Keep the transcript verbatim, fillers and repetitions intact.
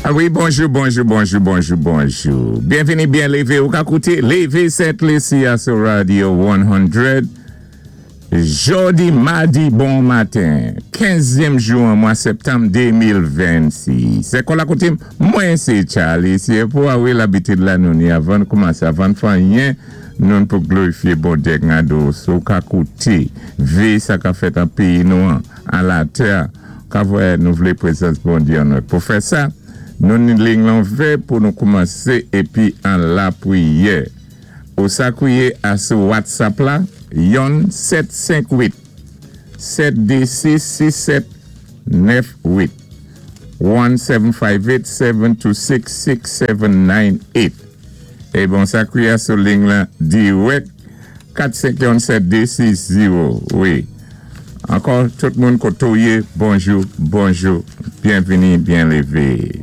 A wi, bonjou, bonjou, bonjou, bonjou, bonjou. Byenvini, byen lévé. Ou ka kouté Lévé Sent Lisi a sou Radio san. Jòdi, madi, bon maten. kenzyèm jou an mwa septanm de mil vennsis. Sé kon la koutim, mwen sé Charlie. Sé pou a wi labitid la nou ni avan koumansé, avan fè anyen, nou pou glorifié Bondyé gado. Sou ka kouté, vé sa ka fèt an péyi nou an, an latè, ka vwè nou vlé pwézans Bondyé an nou. Pou fè sa, nou ni lign lan ouvè pou nou koumansé épi an lapriyè. Ou sa kwiyé a sou WhatsApp la, yon sèt senk uit sèt dé sis sis sèt nèf uit, one seven five eight seven two six six seven nine eight. É bon, sa kwiyé a sou lign lan dirèk, kat senk yon sèt dé sis zewo. Wi. Ankò, tout moun koto yé, bonjou, bonjou, byenvini, byen lévé.